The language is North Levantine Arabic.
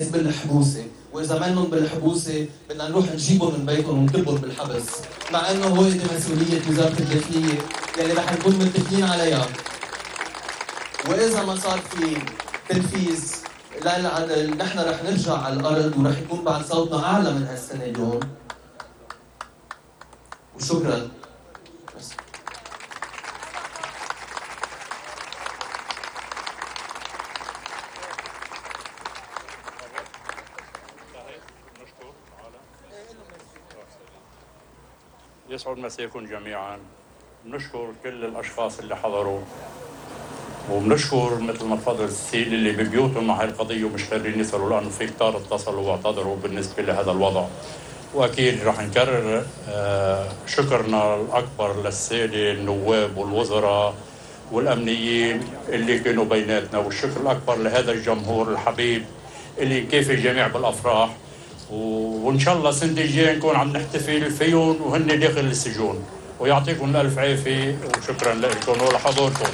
بالحبوسة، وإذا منهم بالحبوسة بدنا نروح نجيبهم من بيتهم ونكبهم بالحبس، مع إنه هو دي مسؤولية وزارة الداخلية يلي رح نكون متفقين عليها. وإذا ما صار في تنفيذ للعدل نحن رح نرجع على الأرض ورح يكون بعد صوتنا أعلى من هالسنة اليوم. وشكراً. يسعد مساكم جميعا. بنشكر كل الاشخاص اللي حضروا، وبنشكر مثل ما تفضل السيل اللي ببيوتهم مع هاي القضيه ومش قادرين يصلوا، لانه في كتار اتصلوا واعتذروا بالنسبه لهذا الوضع. واكيد رح نكرر شكرنا الاكبر للساده النواب والوزراء والامنيين اللي كانوا بيناتنا، والشكر الاكبر لهذا الجمهور الحبيب اللي كيف الجميع بالافراح، وان شاء الله السنه الجايه نكون عم نحتفل فيهم وهن داخل السجون. ويعطيكم الف عافيه وشكرا لكم ولحضوركم.